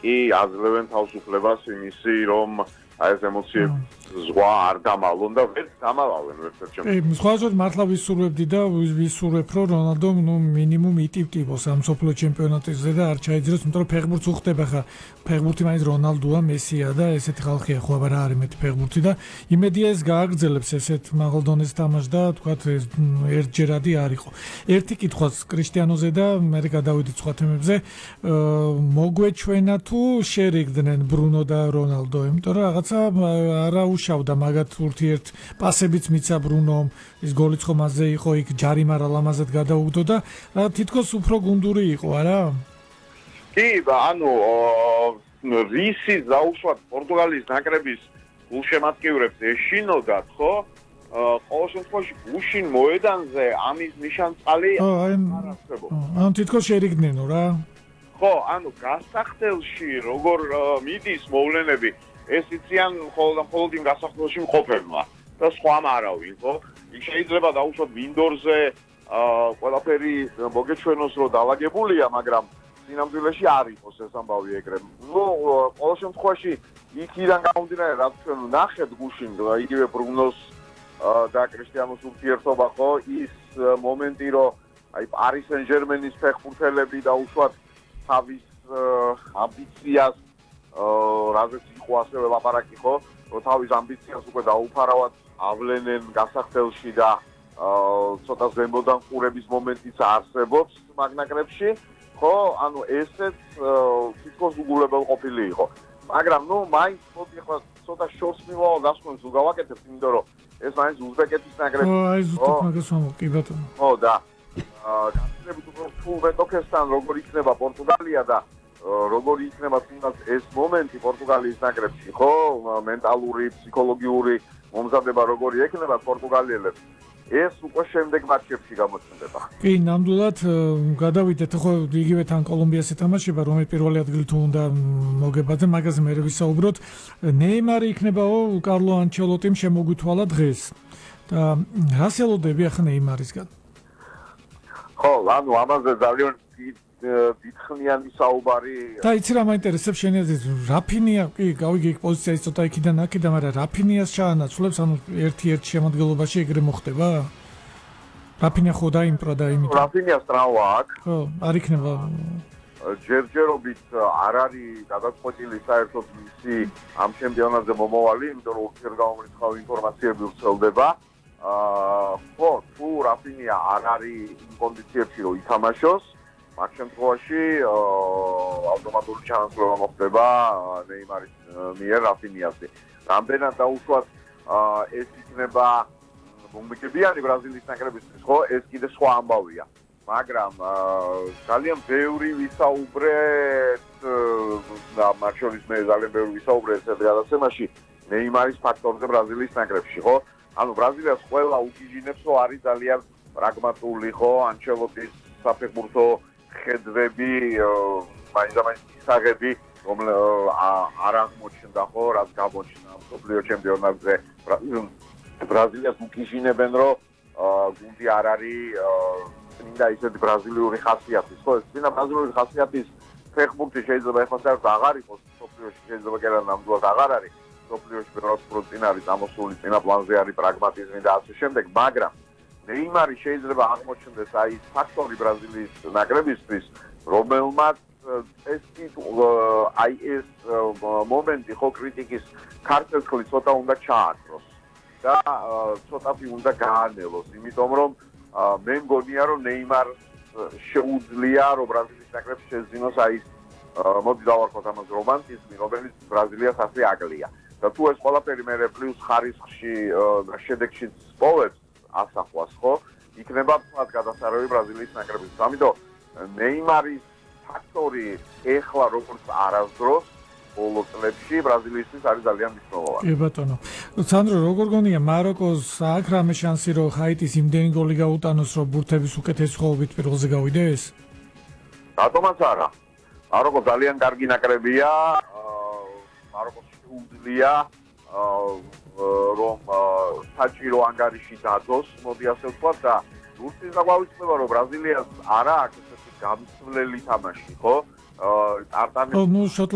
კი აძლევენ თავისუფლებას იმისი, რომ აი ეს ემოციები ზღვა არ დამალონ და ვერ დამალავენ ვერცერთ ჩემს. სხვაგვარად მართლა ვისურვებდი და ვისურვებ, რომ რონალდო მინიმუმ იტივტივოს ამ მსოფლიო ჩემპიონატზე და არ ჩაიძროს, იმიტომ რომ ფეხბურთს უხდება ხა. ფეხბურთი მაინც რონალდოა, მესია და ესეთი ხალხია, ხო აბა რა არის მეტი ფეხბურთი და იმედია ეს გააგრძელებს ესეთ მაღალ დონეს თამაშს და თქვათ ერთჯერადი არ იყო. ერთი კითხვაც კრისტიანოზე და მე გადავიდით სხვა თემებზე. მოგვეჩვენა თუ შერიგდნენ ბრუნო და რონალდო, იმიტომ რომ რაღაცა არა უშავდა მაგათ ურთიერთ პასებიც მიცა ბრუნომ, ის გოლიც ხომ მასზე იყო, იქ ჯარიმა რა ლამაზად გადაუგდო და რა თითქოს უფრო გუნდური იყო, არა? კი, ანუ რისი დაუშვათ პორტუგალიის ნაკრების გულშემატკივრებს ეშინოდათ, ხო? ყოველ შემთხვევაში გუშინ მოედანზე ამის ნიშანწალი არ არსებობს. ანუ თითქოს შერიგდნენო რა? ხო, ანუ გასახდელში როგორ მიდის მოვლენები, ეს იციან მხოლოდ იმ გასახდელში მყოფებმა და სხვამ არავინ, ხო? იქ შეიძლება დაუშვათ მინდორზე ყველაფერი მოგეჩვენოს, რომ დაალაგებულია, მაგრამ სინამდვილეში არ იყოს ეს ამბავი ეგრე. ნუ ყოველ შემთხვევაში იქიდან გამომდინარე, რაც ჩვენ ვნახეთ გუშინ იგივე ბრუნოს და კრისტიანოს ურთიერთობა, ხო, ის მომენტი, რომ აი პარი სენ-ჟერმენის ფეხბურთელები დაუშვათ თავის ამბიციას, რაზეც იყო ასევე ლაპარაკი, ხო, რომ თავის ამბიციას უკვე დაუფარავად ავლენენ გასახდელში და ცოტა ზემოდან ყურების მომენტიც არსებობს მაგ ნაკრებში, ხო, ანუ ესეც თითქოს უგულებელ ყოფილი იყო. მაგრამ ნუ მაინც მოდი ახლა ცოტა შორს მიმავალ გასვენს უგავაკეთებთ, იმიტომ რომ ეს მაინც უზბეკეთის ნაკრები. აი ზუსტად მაგას ვამბობ, კი ბატონო. ხო და გასაგებია თუ მეტოქესთან როგორ იქნება პორტუგალია და როგორ იქნება თუნდაც ეს მომენტი პორტუგალიის ნაკრებში, ხო, მენტალური, ფსიქოლოგიური მომზადება როგორი ექნება პორტუგალიელებს. ეს უკვე შემდეგ მატჩებში გამოჩნდება. კი, ნამდვილად გადავიდეთ ხო იგივე თან კოლუმბიას ეთამაშება, რომელიც პირველი ადგილი თუ უნდა მოგებაძე, მაგაზე მე ვისაუბროთ. ნეიმარი იქნებაო კარლო ანჩელოტიმ შემოგვითვალა დღეს. და რას ელოდები ახლა ნეიმარისგან? ხო, ანუ ამაზე ძალიან დიდხნიანი საუბარი. და იცი რა მაინტერესებს შენი აზრით, რაფინია, კი, გავიგე იქ პოზიცია ის ცოტა იქიდან აქედან, მაგრამ რაფინიას ჩაანაცვლებს, ანუ ერთ შემადგენლობაში ეგრე მოხდება? რაფინია ხო დაიმპრა და იმიტომ. რაფინიას ტრავმა აქვს. ხო, არ იქნება. ჯერჯერობით არ არის გადაწყვეტილი საერთოდ მისი ამ ჩემპიონატზე მომავალი, იმიტომ რომ ურთიერთგამომრიცხავი ინფორმაციები ვრცელდება. ხო, თუ რაფინია არ არის იმ კონდიციებში, რომ ითამაშოს, მაგ შემთხვევაში ავტომატური ჩანაცვლება მოხდება ნეიმარის მიერ რაფინიაზე. რამდენად დაუშვათ ეს იქნება მომგებიანი ბრაზილიის ნაკრებისთვის, ხო, ეს კიდე სხვა ამბავია. მაგრამ ძალიან ბევრი ვისაუბრეთ და მათ შორის მე ძალიან ბევრი ვისაუბრეთ ეს გადაცემაში ნეიმარის ფაქტორზე ბრაზილიის ნაკრებში, ხო? ანუ ბრაზილიას ყველა უგიჟინებს, რომ არის ძალიან პრაგმატული, ხო, ანჩელოტის საფეხბურთო ხედვები, მაინც ისაღები, რომ არ აღმოჩნდა, ხო, რაც გამოჩნდა მსოფლიო ჩემპიონატზე. ბრაზილიას უკიჟინებენ, რომ გუნდი არ არის წმინდა ისეთი ბრაზილიური ხასიათის, ხო, წმინდა ბრაზილიური ხასიათის ფეხბურთი შეიძლება ეხლა საერთოდ აღარ იყოს მსოფლიოში, შეიძლება კი არა ნამდვილად აღარ არის მსოფლიოში ფეხბურთი წინ არის ამოსული, წინა პლანზე არის პრაგმატიზმი და ასე შემდეგ, მაგრამ ნეიმარი შეიძლება აღმოჩნდეს აი ეს ფაქტორი ბრაზილიის ნაკრებისთვის, რომელმაც ეს აი ეს მომენტი ხო კრიტიკის ქართლი ცოტა უნდა ჩააქროს და ცოტათი უნდა გაანელოს, იმიტომ რომ მე მგონია რომ ნეიმარს შეუძლია რომ ბრაზილიის ნაკრებს შეძინოს აი ეს მოდი დავარქვათ ამას რომანტიზმი, რომელიც ბრაზილიას ასე აკლია. და თუ ეს ყველაფერი მე პლუს ხარისხში და შედეგში პოვებს ასახვას, ხო? იქნება თქვათ გადასარევი ბრაზილიის ნაკრების. ამიტომ ნეიმარის ფაქტორი ეხლა როგორც არასდროს ბოლო წლებში ბრაზილიისთვის არის ძალიან მნიშვნელოვანი. კი ბატონო. სანდრო, როგორ გონია მაროკოს აქვს რამე შანსი რომ ჰაიტის იმდენი გოლი გაუტანოს, რომ ბურთების უკეთესი ხოვებით პირველზე გავიდეს? რატომაც არა. მაროკო ძალიან კარგი ნაკრებია. მაროკოს შეუძლია რომ საჭირო ანგარიში დადოს, მოდი ასე ვთქვათ და ზუსტი დაგვაუწყდება რომ ბრაზილიას არა აქვს ესეთი გამსვლელი თამაში, ხო? არტანი ну